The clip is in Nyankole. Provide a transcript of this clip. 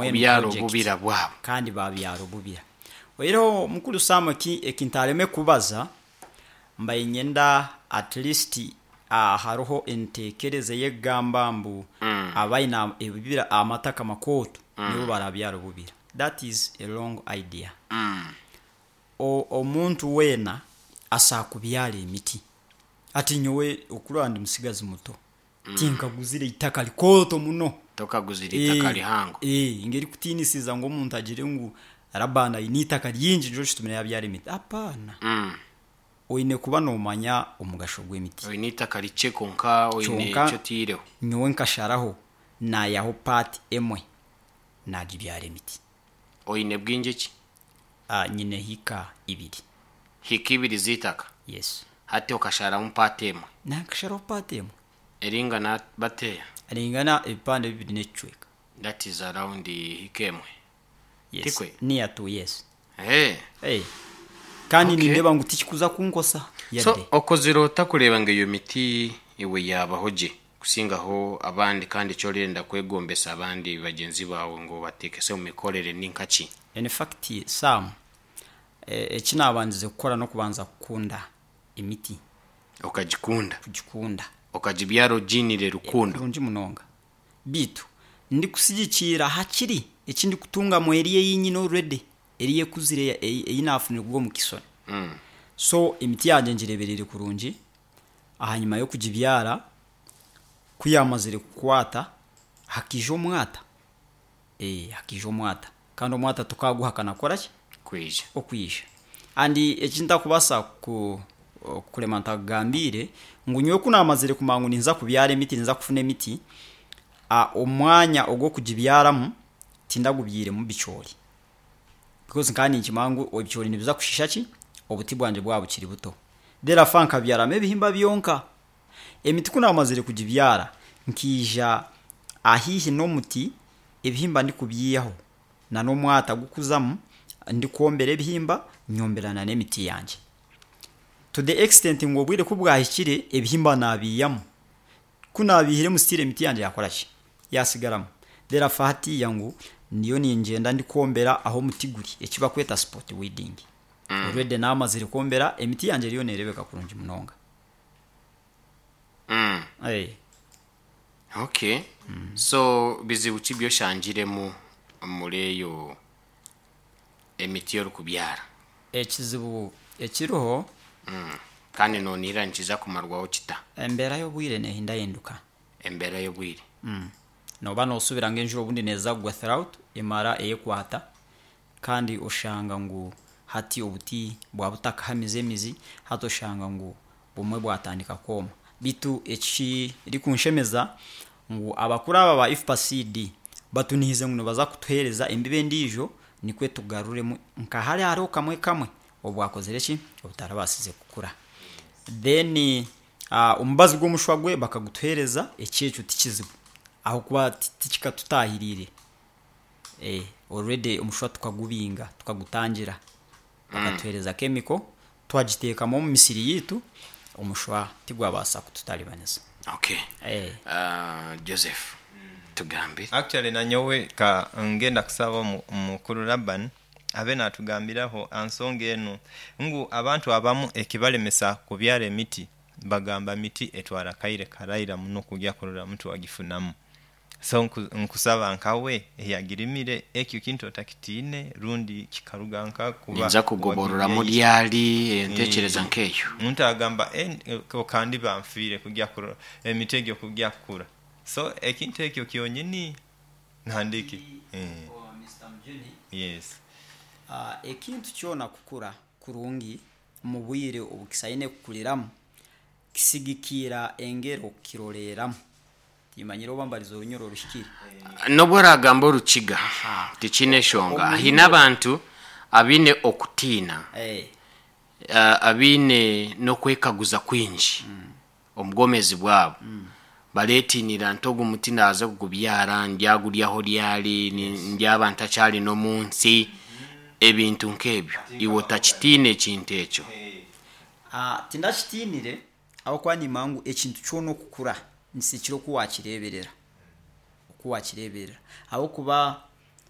Mbwenu Kubyara project. obubira bwabo. Kandi babyara obubira. Oihireho mukuru Sam eki eki ntareme kubaza, mbaire niinyenda at least hariho entekereza ey'ekugamba mbu abaine ebibira amataka makooto nibo barabyara obubira. That is a wrong idea. Omuntu weena asobola kubyara emiti. Hati nyowe okurora ndi musigazi muto, tinkaguzire itaka rikooto muno. Tokaguzire itaka rihango. Ngerikutiinisiza ngu omuntu agire ngu Laban aine eitaka ringi nikyo kitumire yaabyara emiti. Apaana. Oine kuba noomanya omugasho gw'emiti. Oine eitaka rikye kwonka oine Kyonka eki otaireho. nyowe nkasharaho naayihaho paati emwe naagibyara emiti. Oine bwingi ki? Nyine hiika ibiri. Hiika ibiri z'eitaka? Yes. Hati okasharamu paati emwe? Naakasharaho paati emwe. Eringana bateeya? Eringana ebipande bibiri n'ekicweka. That is around hiika emwe. Yes. Tikwe? Near to, yes. Eeh. Hey. Kandi Okay. nindeeba ngu tikikuza kunkosa So yadde. okozire ota kureeba ngu eyo miti iwe yaabaho gye kusingaho abandi kandi eki orenda kwegombesa abandi bagyenzi baawe ngu obateekese omu mikorere ni nka ki? In fact Sam, eki naabandize kukora n'okubanza kukunda emiti. Okagikunda? Kugikunda. Okagibyara ogiiniire rukundo? Kurungi munonga. Beitu ndikusigikiira hakiri eki ndikutungamu eri ei nyine already, eri ekuzire ei naafunire kuruga omu kisoni. So emiti yangye ngireebereire kurungi, ahanyima y'okugibyara ku yaamazire kukwata hakaija omwata, hakaija omwata kandi omwata tokaaguhakana kukora ki? Kwija. Okwija. And eki ntakubaasa kurema ntakugambiire ngu nyowe ku naamazire kumanya ngu ninza kubyara emiti, ninza kufuna emiti, omwanya ogw'okugibyaramu tindagubyairemu bicoori. Because nkaba ninkimanya ngu ebicoori nibiza kushisha ki? Obuti bwangye bwaba bukiri buto. Therefore nkabyaramu ebihimba byonka. Emiti ku naamazire kugibyara, nkaija ahaihi n'omuti ebihimba ndikubyihaho n'omwata gukuzamu ndikwombera ebihimba nyombera n'emiti yangye. To the extent ngu obwire ku bwahikire ebihimba naabiihamu. Ku naabiihiremu still emiti yangye yaakora ki? Yaasigaramu. Therefore hatiiya ngu ndiyo ningyenda ndikwombera ahu omuti guri eki barikweta spot weeding. Already naamazire kwombera emiti yangye eriyo neereebeka kurungi munonga. Okay. So bizibu ki bi oshangiremu omuri eyo emiti orikubyara? Ekizibu ekiriho. Kandi noonihira nikiza kumarwaho kita? Embeera y'obwire neehindahinduka. Embeera y'obwire. Nooba noosubira ngu enjura obundi neeza kugwa throughout emara eyekwata kandi oshanga ngu hati obuti bwaba butakahamize emizi hati oshanga ngu bumwe bwatandika kwoma. Beitu ekirikunshemeza ngu abakuru aba ba IFPA Seed batunihize ngu nibaza kutuheereza embibo endiijo nikwo tugaruremu nka hariya hariho kamwe kamwe obwakozire ki? Obutarabaasize kukura. Then omubazi gw'omushwa gwe bakagutuheereza eki ekyo tikizibu ahabw'okuba tikikatutaahiriire. Already omushwa tukagubinga, tukagutangira. Bakatuheereza chemical twagiteekamu omu misiri yaitu, omushwa tigwabaasa kututaribaniza. Okay. Joseph, tugambire. Actually nanyowe ka ngenda kusaba mukuru Laban abe natugambiraho ansonga enu ngu abantu abamu ekibalemesa kubyara emiti bagamba miti etwara akaire karaira muno kugya kurora muti wagifunamu. So nkusaba nkawe eyagirimire ekyo kintu otakitiine rundi kikaruga nka kuba Ninza kugobororamu ryari entekereza nk'eyo? Omuntu agamba kandiba nfiire kugya kurora emiti egyo kugya kukura. So ekintu ekyo kyonyini nandiki yes. Ekintu kyona kukura kurungi omu bwire obu kisaine kukuriramu kisigikiira engeri okukiroreeramu. Timanyire oba mbarize orunyoro oruhikire. N'obu oraagamba orukiga, tikiine nshonga. Haine abantu abaine okutiina, abaine n'okwekaguza kwingi omu bwomeezi bwabo. Bareetiinira nti ogu muti naaza kugubyara, ndyaguryaho ryari, ndyaba ntakyari n'omu nsi, ebintu nk'ebyo. Iwe otakitiina ekintu ekyo. Tindakitiinire Ahabw'okuba niimanya ngu ekintu kyona okukura nikisikira oku waakireeberera, oku waakireeberera. Ahabw'okuba.